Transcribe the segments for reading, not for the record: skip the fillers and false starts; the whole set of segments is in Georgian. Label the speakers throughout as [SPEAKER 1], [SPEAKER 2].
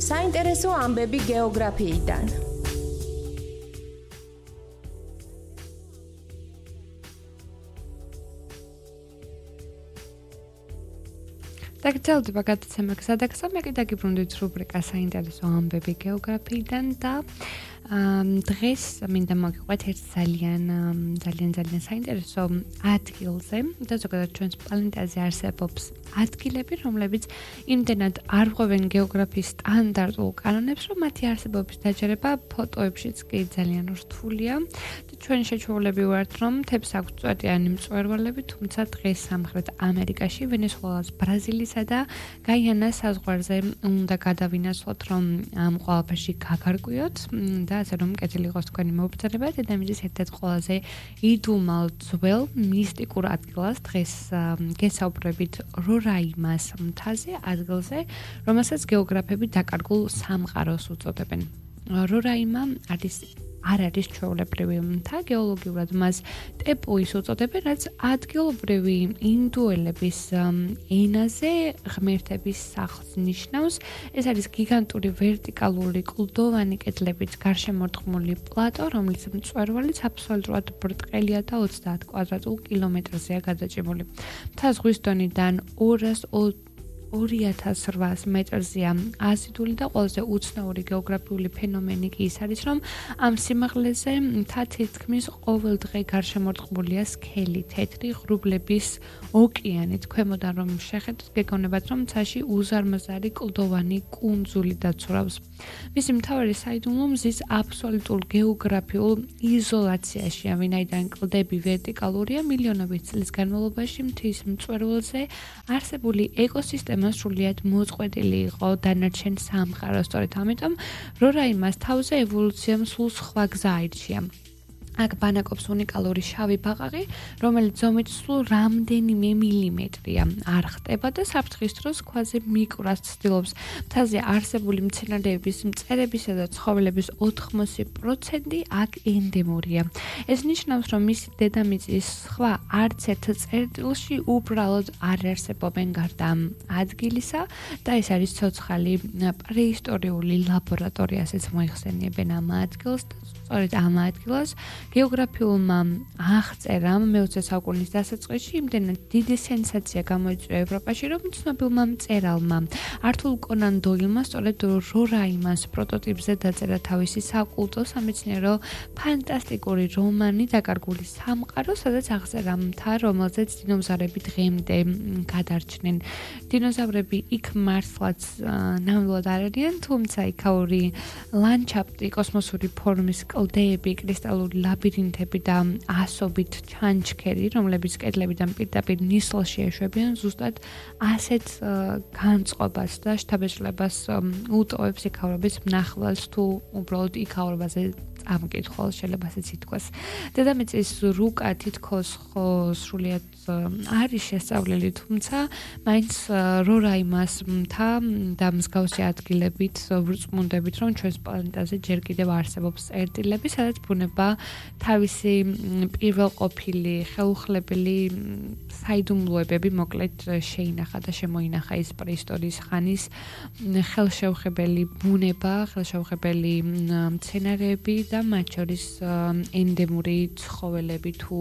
[SPEAKER 1] საინტერესო ამბები გეოგრაფიიდან.
[SPEAKER 2] დაგრძელდება გადაცემა გზადაგზა, მე კიდე გიბრუნდით რუბრიკა საინტერესო ამბები გეოგრაფიიდან და დღეს მინდა მოგიყვეთ ერთ ძალიან საინტერესო ადგილზე და ზოგადად ჩვენს პლანეტაზე არსებობს ადგილები, რომლებიც იმდენად არ ღვევენ გეოგრაფიის სტანდარტულ კანონებს, რომ მათი არსებობის დაჯერება ფოტოებშიც კი ძალიან რთულია და ჩვენ შეჩვეულები ვართ, რომ მთებს აქვთ წვეტიანი მწვერვალები, თუმცა დღეს სამხრეთ ამერიკაში, ვენესუელას, ბრაზილიისა და გაიანას საზღვარზე უნდა გადავინაცვლოთ, რომ ამ ყველაფერში გაგარკვიოთ და ასე რომ კეთილი იყოს თქვენი მობრძოლება. დედამიწის ერთ-ერთ ყველაზე იდუმალ ძველ მისტიკურ ადგილას დღეს გესაუბრებით რორაიმას მთაზე, ადგილზე, რომელსაც გეოგრაფები დაკარგულ სამყაროს უწოდებენ. რორაიმა არ არის ჩვეულებრივი მთა, გეოლოგიურად მას ტეპუის უწოდებენ, რაც ადგილობრივი ინდუელების ენაზე ღმერთების სახლს ნიშნავს. ეს არის გიგანტური ვერტიკალური კლდოვანი კედლებით გარშემორტყმული პლატო, რომლის მწვერვალიც აბსოლუტურად ბრტყელია და 30 კვადრატულ კილომეტრზეა გადაჭიმული. მთა ზღვის დონიდან 2800 მეტრზეა აზიდული და ყველაზე უცნაური გეოგრაფიული ფენომენი კი ის არის, რომ ამ სიმაღლეზე მთა თითქმის ყოველ დღე გარშემორტყმულია სქელი, თეთრი ღრუბლების ოკეანით. ქვემოდან რომ შეხედოთ, გეგონებათ, რომ მთაში უზარმაზარი კლდოვანი კუნძული დაცურავს. მისი მთავარი საიდუმლო მზის აბსოლუტურ გეოგრაფიულ იზოლაციაშია, ვინაიდან კლდები ვერტიკალურია, მილიონობით წლის განმავლობაში მთის მწვერვალზე არსებული ეკოსისტემა სრულიად მოწყვეტილი იყო დანარჩენ სამყაროს. სწორედ ამიტომ რორაიმას თავზე ევოლუციამ სულ სხვა გზა აირჩია. აქ ბანაკობს უნიკალური შავი ბაყაყი, რომელიც ზომით სულ რამდენიმე მილიმეტრია. არ ხტება და საფრთხის დროს ქვაზე მიკვრას ცდილობს. მთაზე არსებული მცენარეების, მწერებისა და ცხოველების 80% აქ ენდემურია. ეს ნიშნავს, რომ მისი დედამიწის სხვა არც ერთ წერტილში უბრალოდ არ არსებობენ გარდა ამ ადგილისა და ეს არის ცოცხალი პრეისტორიული ლაბორატორია, ასეც მოიხსენიებენ ამ ადგილს და სწორედ ამ ადგილას გეოგრაფიულმა აღწერამ მე-20 საუკუნის დასაწყისში იმდენად დიდი სენსაცია გამოიწვია ევროპაში, რომ ცნობილმა მწერალმა ართურ კონან დოილმა სწორედ რორაიმას პროტოტიპზე დაწერა თავისი საკულტო სამეცნიერო ფანტასტიკური რომანი „დაკარგული სამყარო“, სადაც აღწერა მთა, რომელზეც დინოზავრები დღემდე გადარჩნენ. დინოზავრები იქ მართლაც ნამდვილად არ არიან, თუმცა იქაური ლანდშაფტი, კოსმოსური ფორმის კლდეები, კრისტალური ლაბირინთები და ასობით ჩანჩქერი, რომლებიც კედლებიდან პირდაპირ ნისლში ეშვებიან, ზუსტად ასეთ განწყობას და შთაბეჭდილებას უტოვებს იქაურობის მნახველს თუ უბრალოდ იქაურობაზე წამკითხავს, შეიძლება ასეც ითქვას. დედამიწის რუკა თითქოს სრულიად არის შესწავლილი, თუმცა მაინც რორაიმას მთა და მსგავსი ადგილებით ვრწმუნდებით, რომ ჩვენს პლანეტაზე ჯერ კიდევ არსებობს წერტილები, სადაც ბუნება თავისი პირველყოფილი ხელუხლებელი საიდუმლოებები მოკლედ შეინახა და შემოინახა ის პრეისტორიის ხანის ხელშეუხებელი ბუნება, ხელშეუხებელი მცენარეები და მათ შორის ენდემური ცხოველები თუ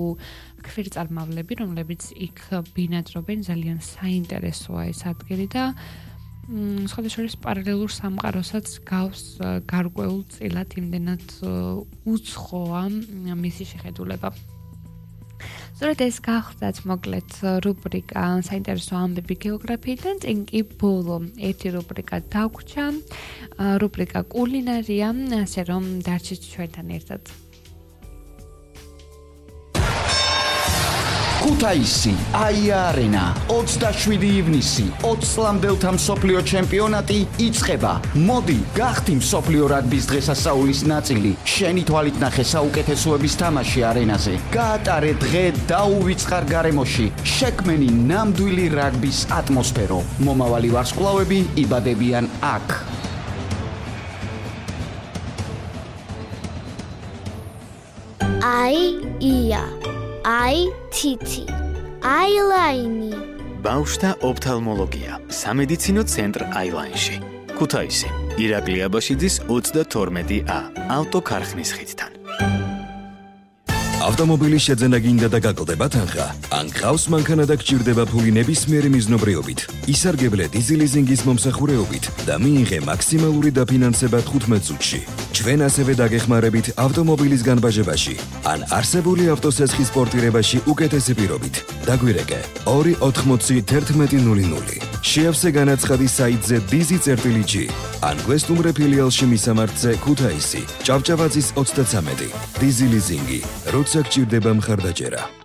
[SPEAKER 2] ქვირწარმავლები, რომლებიც იქ ბინადრობენ. ძალიან საინტერესოა ეს ადგილი და სხვადასხვა პარალელურ სამყაროსაც გავს გარკვეულ წილად, იმდენად უცხოა მისი შეხედულება. სწორედ ეს გახლდათ მოკლედ რუბრიკა საინტერესო ამბები გეოგრაფიიდან, წინ კი ბოლო ერთი რუბრიკა დაგვრჩა, რუბრიკა კულინარია, ასე რომ დარჩით ჩვენთან ერთად.
[SPEAKER 3] ქუთაისი, აია-არენა, 27 ივნისი, 20 წლამდელთა მსოფლიო ჩემპიონატი იწყება. მოდი, გახდი მსოფლიო რაგბის დღესასწაულის ნაწილი. შენი თვალით ნახე საუკეთესოების თამაში არენაზე. გაატარე დღე დაუვიწყარ გარემოში. შექმენი ნამდვილი რაგბის ატმოსფერო. მომავალი ვარსკვლავები იბადებიან აქ.
[SPEAKER 4] აი-ია. აი თითი აილაინი.
[SPEAKER 5] ბავშვთა ოფთალმოლოგია. სამედიცინო ცენტრ აილაინში. ქუთაისი. ირაკლი აბაშიძის 32A. ავტოქარხნის ხიდთან.
[SPEAKER 6] ავტომობილის შეძენა გინდა და გაკლდება თანხა. ან გყავს მანქანა და გჭირდება ფული ნებისმიერი მიზნობრიობით. ისარგებლე დიზელიზინგის მომსახურეობით და მიიღე მაქსიმალური დაფინანსება 15 წუთში. ჩვენ ასევე დაგეხმარებით ავტომობილის განბაჟებაში ან არსებული ავტოსესხის პორტირებაში უკეთესი პირობით. დაგვირეკე 2801100. შეავსე განაცხადი საიტზე dizi.g ან გვესტუმრე ფილიალში მისამართზე ქუთაისი, ჭავჭავაძის 33. დიზელიზინგი, როცა გჭირდება მხარდაჭერა.